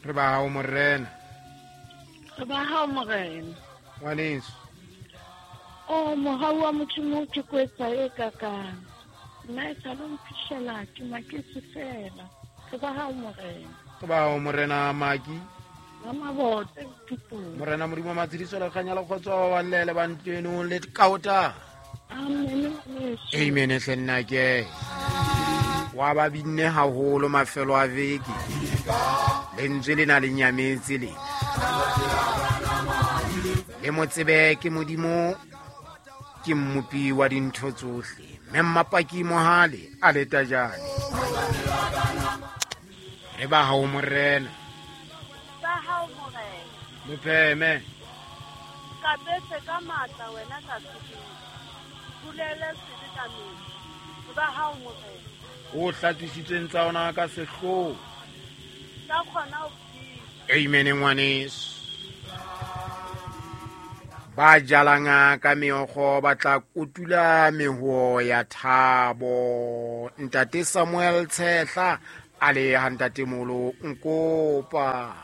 Re ba hao morena. Re ba hao morena. Ngwaneso. O mohau wa Modimo ke kwetsa e kakang. Nna e sa lo mphihlela ke maketse fela. Re ba hao morena. Re ba hao morena Maki. Ramabote Thupong. Morena Modimo wa matshediso le kganya le kgotso wa babalele ba ntlo eno le kaota. Amen ngwaneso. Amen hle nna ke. Wa ba binne haholo mafelo a veke. Lentswe le na le nyametse le. Le mo tsebe ke Modimo ke mmopi wa dintho tsohle. Mme Mmapaki Mohale a le tajane. Re ba hao morena. Ba hao morena. Mopheme. Kapetse ka matla wena ka sebele. Bulele sebe ka metsi. Re ba hao morena. O hlatswisitsweng tsa ona ka sehloho. Ka kgona ho phela. Amen ngwaneso. Ba jalang ka meokgo ba tla kotula meho ya thabo. Ntate Samuel Tshehla a le ha ntate Molo nkopa.